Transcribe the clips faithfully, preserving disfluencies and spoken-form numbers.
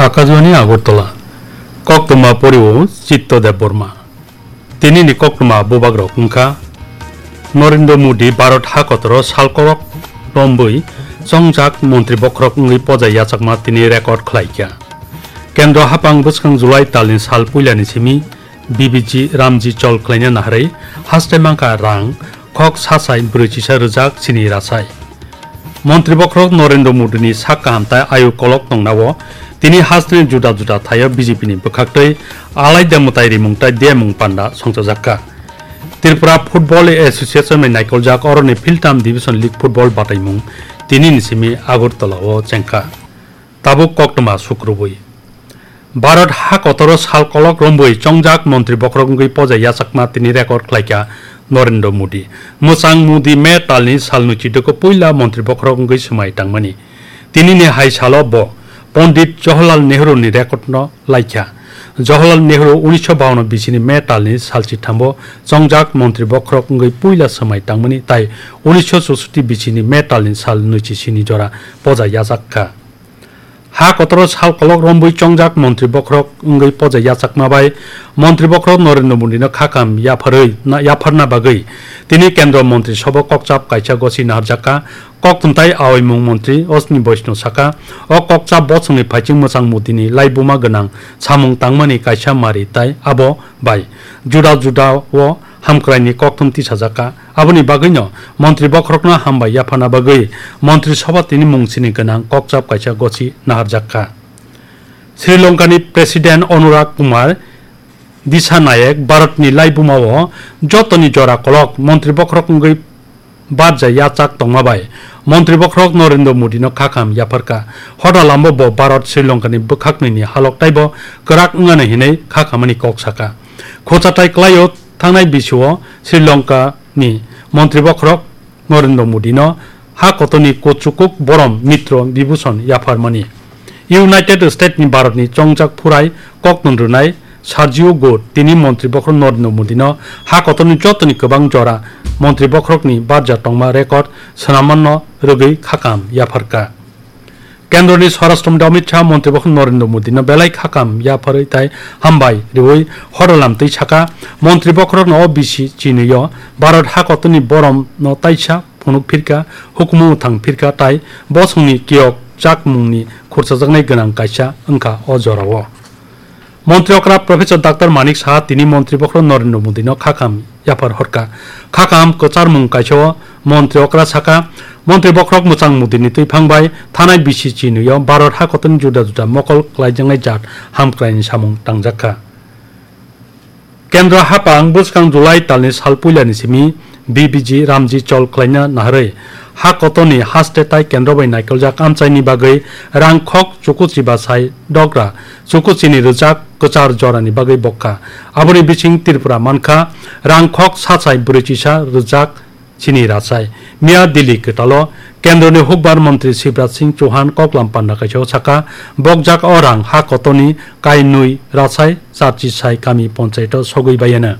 Akajwani Agartala, koktwma porio Chitto Debbarma. Tinini koktwma bubagrok wngkha Narendra Modi Bharat hakotoro salkorok rombwi chongjak montri bokhorok wngwi poja yachakma tini record khlaikha. Kendro hapang bwskang July talni sal puilani simi B B G Ramji chol khlaina naharwi haste mangkha rang khok sasai brwi chisa rwjak chini rasai. Montri bokhorok Narendra Modini sak kaham tai ayu kolok tongnao tini hasteni juda juda thaio B J P ni bwkhaktwi alaida mwtai rimung tai demung panda songchajakha. Tripura Football Association bai naikoljak oroni Philtam Division League Football bataimung tinini simi Agartala o chengkha. Tabuk koktwma sukrubwi. Bharat ha kotoro sal kolok rombwi chongjak montri bokhorok wngwi poja yachakma tini record khlaikha Narendra Modi. Mwchang Modi May talni sal nwichidoko puila montri bokhorok wngwi swmai tangmani. Tinini hai salo bo Pondit Jawaharlal Nehru ni record no laikha. Jawaharlal Nehru unisho bawanno bisini May talni sal chithambo chongjak montri bokhorok wngwi puila swmai tangmani tai unisho chusoti bisini May talni sal nwichi sini jora poja yachakkha. Ha kotoro sal kolok rombwi chongjak montri bokhorok wngwi poja yachakma bai montri bokhorok Narendra Modino khakam yapharwi na, yapharna bagwi tini kendro montri sobo kokchap kaisa gosi naharjakha. Koktwmtai aoimung montri Ashwini Vaishnaw saka, o kokchap bosongni phaiching mwchang Modini laibuma gwnang samung tangmani kaisa mari tai abo bai juda juda o hamkraini kokthum tisajakha. Aboni bagwino montri bokhorokno hambai yaphana bagwi montri sobha tini mungsini gwnang kokchap kaisa gosi naharjakha. Sri Lankani President Anurag Kumar Dissanayake Bharatni laibumao jotoni jora kolok montri bokhorok wngwi barja yachak tongma bai montri bokhorok Narendra Modino khakam yapharkha. Hotalambo bo Bharat Sri Lankani bwkhaknwini halok taibo kwrak wngnani hinwi khakamani kok sakha. Khochatai kwlaio thangnai bisio Sri Lankani montri bokhorok Narendra Modino ha kotoni kuchukuk borom Mitro Vibhushon yapharmani. United States ni Bharat ni chongjak phurai koktwng rwnai Sergio Gour tini montri bokhorok Narendra Modino ha kotoni jotoni kwbang jora montri bokhorokni barja tongma record swnamano rwgwi khakam yapharkha. Kendroni Swarashtra Mantri Amit Shah montri bokhorok Narendra Modino belai khakam yapharwi tai hambai riwi hodalam twi sakha, montri bokhorokno o bisi chinwi-o Bharat ha kotoni boromno taisa phunuk phirkha, hukumu mwthang phirkha tai bosongni kiyok chakmungni khurchajaknai gwnang kaisa wngkha o jorao. Montri okra Professor Doctor Manik Saha tini montri bokhorok Narendra Modino khakam yaphar horkha. Khakam kwcharmung kaisa o montri okra sakha, montri bokhorok mwchang Modini twiphang bai thanai bisi chinwi-o Bharat ha kotoni juda juda mokol klaijaknai jat hamkraini samung tangjakha. Kendra hapang bwskang July talni sal puilani simi B B G Ramji chol khlaina naharwi ha kotoni haste tai kendro bai naikoljak amchaini bagwi rang khok chukuchi ba sai dogra chukuchini rwjak kwchar jorani bagwi bokha. Aboni bising Tripura mankha rang khok sachai brwichisa rwjak chini rachai. Miya Delhi kwtalo Kendroni hukbar montri Shivraj Singh Chauhan koklam panda kaisa o sakha, bokjak o rang ha kotoni kainwi rachai charchi sai kami ponchaito sogwi bayana.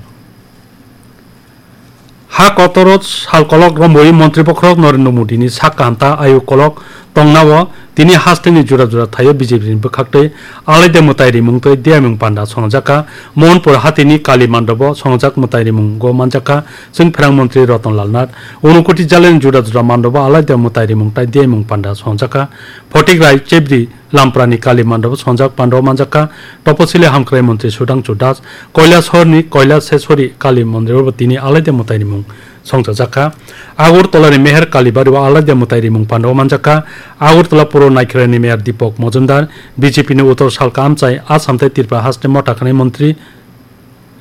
Ha kotoro sal kolok romwi montri bokhorok Narendra Modini sak kaham ta ayu kolok tongnao tini hasteni jura jura thaio B J P ni bwkhaktwi alaida mwtai rimung tei diyamung panda songjakha. Mohanpur hatini Kali mandobo songjak mwtai rimungo manjakha chwng pherang montri Ratan Lal Nath. Unakoti jalani jura jura mandobo alaida mwtai rimung tei diyamung panda songjakha. Photik Rai Chebri Lamprani Kali mandobo songjak pando manjakha. Toposili hamkrai montri Sudhangshu Das, Kailasahorni Kailaseshwari Kali mondirobo tini alaida mwtai rimung songchajakha. Agartalani Meher Kalibario alaida mwtai rimung pando manjakha. Agartala Puro Naikharani Meher Deepak Majumdar, B J P ni Uttor Salka amchai Assam tei Tripura haste motha khanai montri